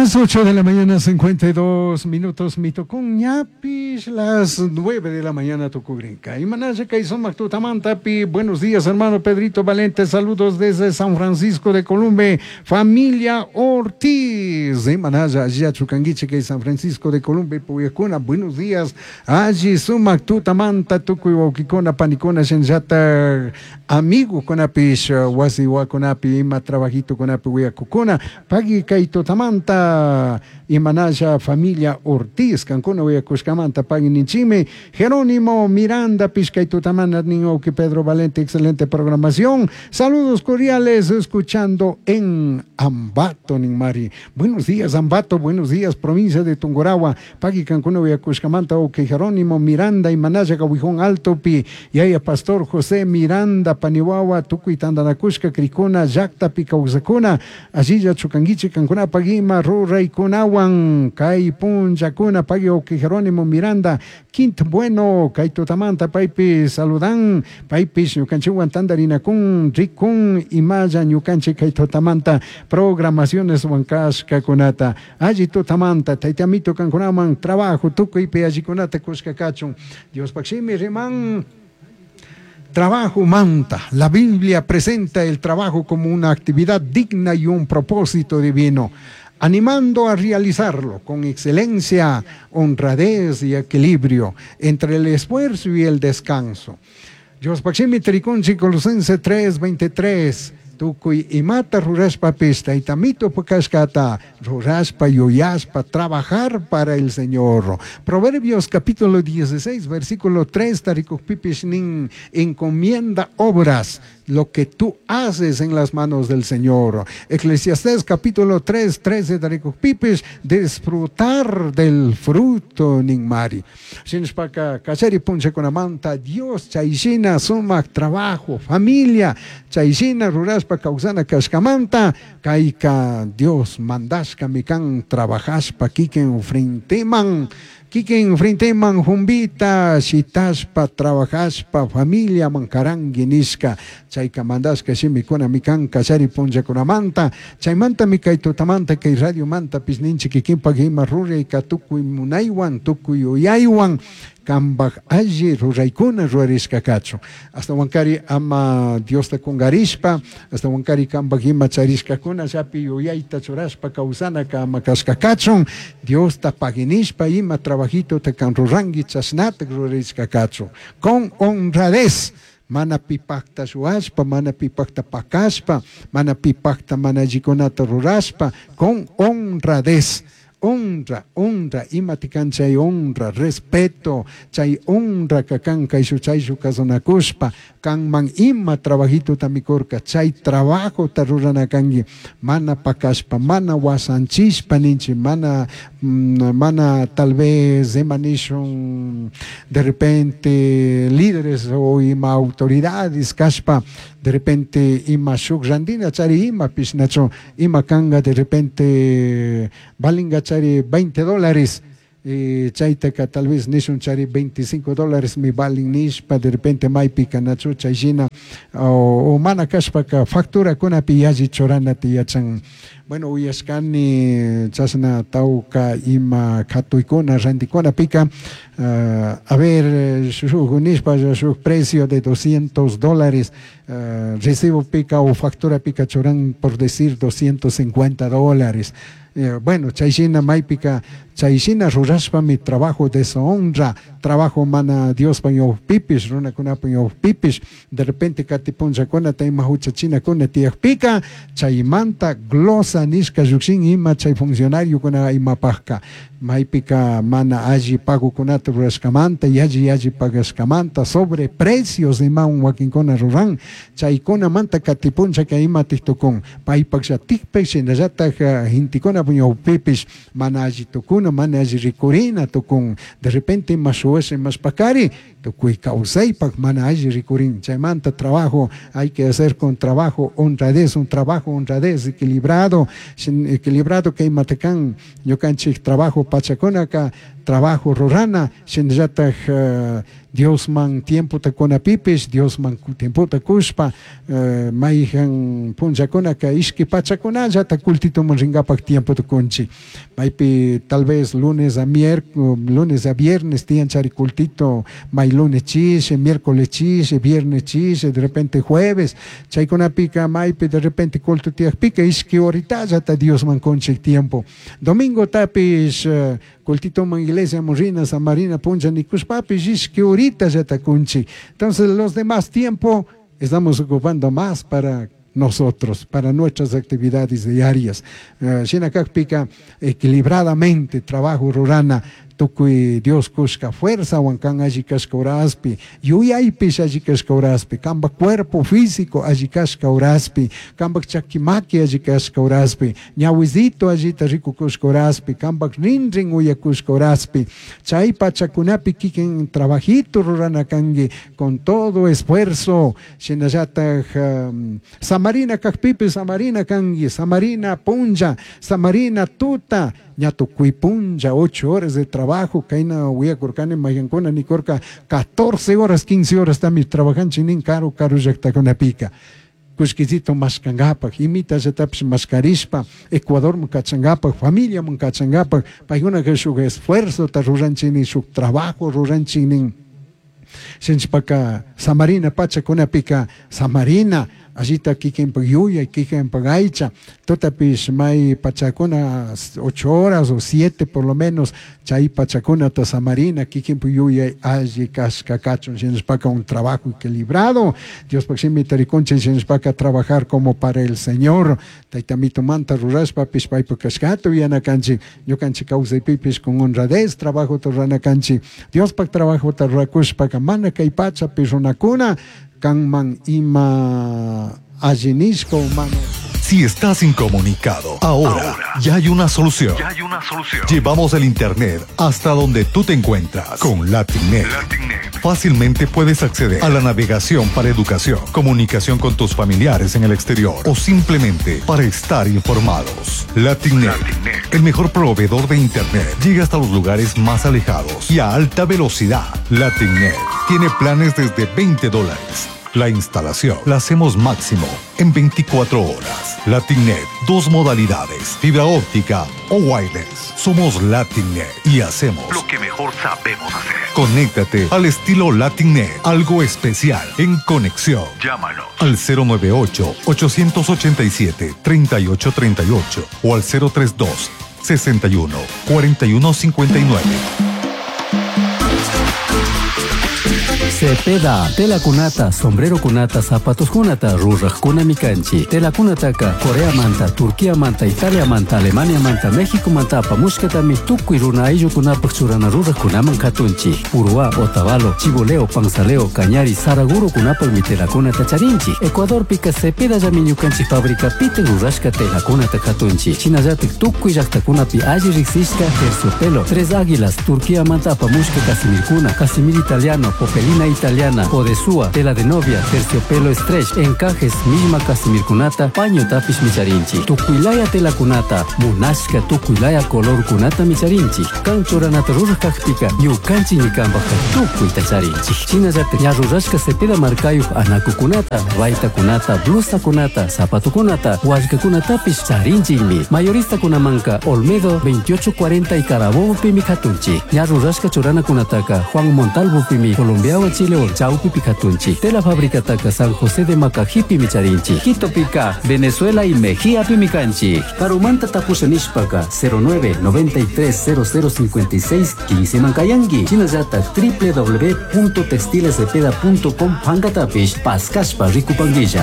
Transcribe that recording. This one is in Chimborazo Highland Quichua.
Las 8 de la mañana, 52 minutos, mitocón ñapis, las 9 de la mañana, tucugrinca. Y manaya pi, buenos días, hermano Pedrito Valente, saludos desde San Francisco de Columbia, familia Ortiz. Y manaya, Yachucanguiche, que San Francisco de Columbia, Puyacuna, buenos días. Allí sumac tutamanta, tucuy wauquicuna, panicuna, shenllata, amigo conapish, wasi wacunapi, ima trabajito conapi, huyacucuna, pagui kay tutamanta, imanaya familia Ortiz, cancuna huyacushcamanta, pagui ninchimi, Jerónimo Miranda, pishkay tutamanta, nin Pedro Valente, excelente programación. Saludos cordiales, escuchando en Ambato, Ninmari. Buenos días, Ambato, buenos días, provincia de Tungurahua. Pagui cancuna huyacushcamanta, ok, Jerónimo Miranda, imanaya Gawijón Alto, pi, yaya Pastor José Miranda, Paniwawa, tukuy tandanakushka, krikuna, llaktapi kawsakuna, allilla chukanguichi, cancuna pagima, ruraykunawan, kay punllakuna, pagui ok, Jerónimo Miranda, Quint Bueno, kay tutamanta, paypi saludan, paypis ñukanchikwan tandarinakun, rikun, imalla ñukanchik kay tutamanta, programaciones wankashkakunata, alli tutamanta, taytamito kankunaman, trabajo, tukuypi allikunata kushka kachun, Diospaj shimi riman, Trabajo manta. La Biblia presenta el trabajo como una actividad digna y un propósito divino, animando a realizarlo con excelencia, honradez y equilibrio entre el esfuerzo y el descanso. Diospaj shimi tarikunchik Colosense 3:23. Tukuy imata rurashpapis taytamito pukashkata rurashpa yuyashpa trabajar para el Señor. Proverbios capítulo 16 versículo 3 tarikukpipish nin encomienda obras lo que tú haces en las manos del Señor. Eclesiastés capítulo 3, 13 tarikukpipish disfrutar del fruto ninmari. Shinashpaka kachari punchakunamanta Dios chayshina sumak trabajo, familia, chayshina rurashpa kawsana kashkamanta, kayka Dios mandashka mikan trabajashpa kikin frenteman, kikin frenteman jumbita shitashpa trabajashpa familia mankarangi nishka, chayka mandashka shimikuna mikan kachari punchakunamanta, chaymanta mikay tutamanta kay radio manta pisninchik kikinpak ima rurayka tukuy munaywan tukuy yuyaywan kambaj alli ruraykuna rurarishka kachun. Ashtawankari ama Diosta kungarishpa, ashtawankari kambaj ima charishkakuna llapi yuyayta churashpa kawsanaka ama kashka kachun, Diosta paginishpa ima trabajito te kan rurangi chashnatak rurarishka kachun. Con honradez. Mana pipakta shuashpa, mana pipakta pakashpa, mana pipakta mana allikunata rurashpa, con honradez. Honra, honra, imatikan chay honra, respeto, chay honra kakan kayshu chayshu kasunakushpa, kanman ima trabajito tamikurka, chay trabajo ta ruranakanki, mana pakashpa, mana wasanchishpa ninchi, mana, mana tal vez ima nishun, de repente líderes o ima autoridades kashpa, de repente ima shuk randina chari ima pishnacho, ima kanga de repente balinga chari $20, chaytaka tal vez nishun chari $25 mi balin nishpa, de repente maypika nachu chayshina, o mana kashpaka factura kunapi yalli churana tiyachan. Bueno, uyashkani chashna tawka ima katuykuna rantikunapika, a ver, shuk nishpa shuk precio de $200, recibo pica o factura pica churan por decir $250. Bueno, chayshina maypika, chayshina rurashpa mi trabajo deshonra, trabajo mana Diospa ñawpipish, runakunapa ñawpipish, de repente katipunllakunata ima huchachinakuna tiyakpika, chaymanta glosa nishka llukshin ima chay funcionariokuna imapajka, maypika mana alli pagokunata rurashkamanta, yalli yalli pagashkamanta, sobre precios imawan wakinkuna ruran, chaykunamanta katipunchaka ima tiktukun, paypaklla tikpik shinallatak gentekuna ñawpipish mana alli tukuna, mana alli rikurina tukun, de repente ima shuwasha imash pakari, tukuy kawsaypak mana alli rikurin, chaymanta trabajo hay que hacer con trabajo honradez, un trabajo honradez equilibrado, sin equilibrado que imatakan ñukanchik trabajo pachakunaka, trabajo rurana, shinallatak Diosman tiempota kunapipish, Diosman tiempota kushpa, mayhan punllakunaka ishki pachakunallata cultituman rinkapak tiempota kunchik. Maypi tal vez lunes a lunes a viernes tiyan chari cultito, may lunes chishi, miércoles chishi, viernes chishi, de repente jueves, chaykunapika maypi de repente culto tiyakpika ishki horitallata Diosman kunchik tiempo. Domingo tapish cultitoman iglesia rina, samarina puncha nikushpapish ishki horitallata kunchik. Entonces los demás tiempo estamos ocupando más para nosotros, para nuestras actividades diarias. Shina kakpika equilibradamente trabajo rurana, tukuy Dios kushka fuerza wan kan alli kashka horaspi, yuyaypish alli kashka horaspi, kanpak cuerpo físico alli kashka horaspi, kanpak chakimaki alli kashka horaspi, ñawizito allita rikukushka horaspi, kanpak rinrin uyakushka horaspi, chay pachakunapi kikin trabajito rurana kanki con todo esfuerzo, shinallataj samarina kakpipi samarina kanki, samarina punlla, samarina tuta, ña tukuy punlla, 8 horas de trabajo, kayna willakurkani mayqankuna nikurka 14 horas, 15 horas también trabajanchik nin karu karu llaktakunapika. Kullkisito mashkankapak, imitallatapish mashkarishpa, Ecuadorman kachankapak, familiaman kachankapak, paykunaka shuk esfuerzota ruranchik nin, shuk trabajo ruranchik nin. Shinchpaka samarina pachakunapika, samarina allita kikinpak yuyay, kikinpak aycha, tutapish may pachakuna 8 horas o 7 por lo menos, chay pachakunata samarina, kikinpak yuyay alli kashka kachun, shinashpaka un trabajo equilibrado, Diospak shimita rikunchik, shinashpaka trabajar como para el Señor, taytamitumanta rurashpapish paypak kashkata uyanakanchik, ñukanchik kawsaypipish con honradez trabajota ruranakanchik, Diospak trabajota rurakushpaka mana kay pachapi runakuna kanman ima allinishka mana. Si estás incomunicado, ahora ya hay una solución. Ya hay una solución. Llevamos el internet hasta donde tú te encuentras con LatinNet. LatinNet. Fácilmente puedes acceder a la navegación para educación, comunicación con tus familiares en el exterior o simplemente para estar informados. LatinNet, LatinNet. el mejor proveedor de internet, llega hasta los lugares más alejados y a alta velocidad. LatinNet tiene planes desde veinte dólares. La instalación la hacemos máximo en 24 horas. LatinNet, 2 modalidades, fibra óptica o wireless. Somos LatinNet y hacemos lo que mejor sabemos hacer. Conéctate al estilo LatinNet, algo especial en conexión. Llámanos al cero nueve ocho, ochocientos ochenta y siete, treinta y ocho treinta y ocho o al cero tres dos, sesenta y uno, cuarenta y uno cincuenta y nueve. Cepeda, tela kunata, sombrero kunata, zapatos kunata, ruraj kunami kanchi. Tela kunataka, Corea manta, Turquía manta, Italia manta, Alemania manta, México manta, apamushkatami, tukuy runa ayllu kunapak churana ruraj kunaman katunchi. Uruá, Otavalo, Chiboleo, Panzaleo, Cañari, Saraguro kunapak mi tela kunata charinchi. Ecuador pika Cepeda llami ñukanchik fábrica pite rurashka tela kunata katunchi. Shinallatik tukuy llaktakunapi alli riksishka terciopelo, Tres Águilas, Turquía manta, apamushka casimirkuna, casimir italiano, popelina italiana, odesúa, tela de novia, terciopelo stretch, encajes, misma casimirkunata, paño tapish micharinchi, tukuilaya tela kunata, munashka tukuilaya color kunata micharinchi, kanchoranata ruraj kakpika, ñukanchi ñikanpajka tukuyta charinchi. Shinallata ña rurashka cepeda markayuj anakukunata, baytakunata, blusakunata, zapatukunata, wallkakunatapish charinchikmi. Mayorista kunamanka Olmedo 2840 y Carabobo pimi katunchi. Ña rurashka churanakunataka Juan Montalvo pimi Colombiawan Chile Chaupi Picatunchi, Tela Fábrica Taca San José de Macajipi Micharinchi, Quito Pica, Venezuela y Mejía Pimicanchi, Carumanta Tapusha Nishpaka, cero nueve noventa y tres cero cero cincuenta y seis quince Mancayangui, Chinayata, doble u doble u doble u punto textiles cepeda punto com, Pangatapish, Pascaspa, Ricupanguilla.